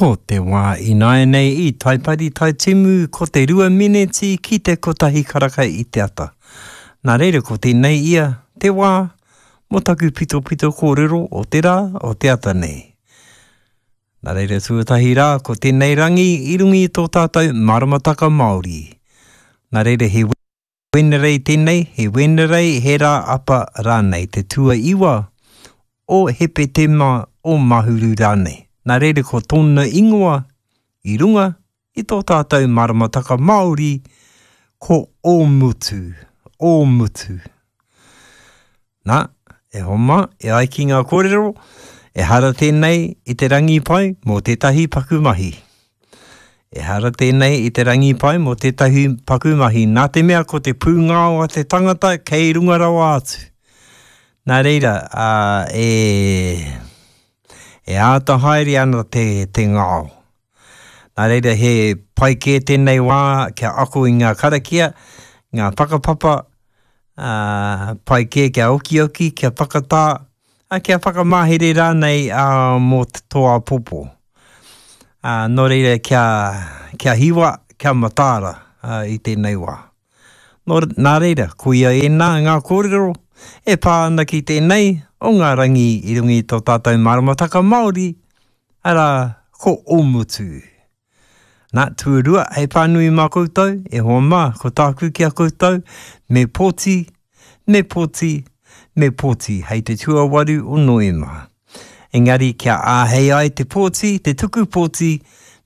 Ko te wā ināianei i Taipari Taitimu ko te rua mineti ki te kotahi karaka i te ata. Nā reira ko tēnei ia te wā mō taku pitopito kōrero o te rā o te ata nei. Nā reira tuatahi rā ko tēnei rangi i runga i tō tātou maramataka Māori. Nā reira he Wenerei tēnei, he Wenerei, he rā apa rānei, te tuaiwa o Hepetema o Mahuru rānei. Nā reira ko tōna ingoa i runga i tō tātou maramataka Māori ko Ōmutu, Ōmutu. Nā, e hoa mā, e ai ki ngā kōrero, ehara tēnei i te rangi pai mō tētahi paku mahi. Ehara tēnei i te rangi pai mō tētahi paku mahi, nā te mea ko te pūngao a te tangata kei runga rawa atu. Nā reira, ā, e, e āta haere ana te, te ngao. Nā reira, he pai kē tēnei wā kia ako i ngā karakia, ngā whakapapa, ā, pai kē kia okioki, kia whakatā, ā, kia whakamahere rānei ā, mō tō āpōpō. Ā, nō reira kia, kia hiwa, kia mataara ā, i tēnei wā. Nō, nā reira, koia ēnā ngā kōrero e pā ana ki tēnei o ngā rangi i runga i tō tātou maramataka Māori, arā, ko Ōmutu. Nā, tuarua, hei pānui mā koutou, e hoa mā, ko tāku ki a koutou, me pōti, me pōti, me pōti, hei te tuawaru o Noema. Engari, kia āhei ai te pōti, te tuku pōti,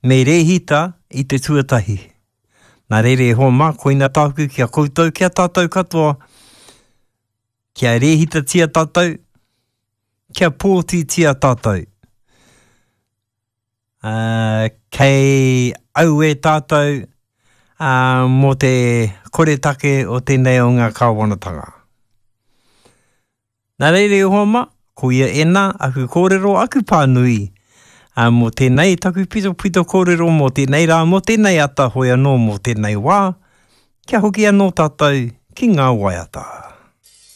me rēhita i te tuatahi. Nā reira, e hoa mā, koina tāku ki a koutou, ki a tātou katoa, kia rēhitatia tātou, kia pōtitia tātou. Ā, kei auē tātou, ā, mō te koretake o tēnei o ngā kāwanatanga. Nā reira e hoa mā, koia ēnā aku kōrero, aku pānui, ā, mō tēnei taku pitopito kōrero mō tēnei rā, mō tēnei ata, hoi anō mō tēnei wā, kia hoki anō tātou ki ngā waiata.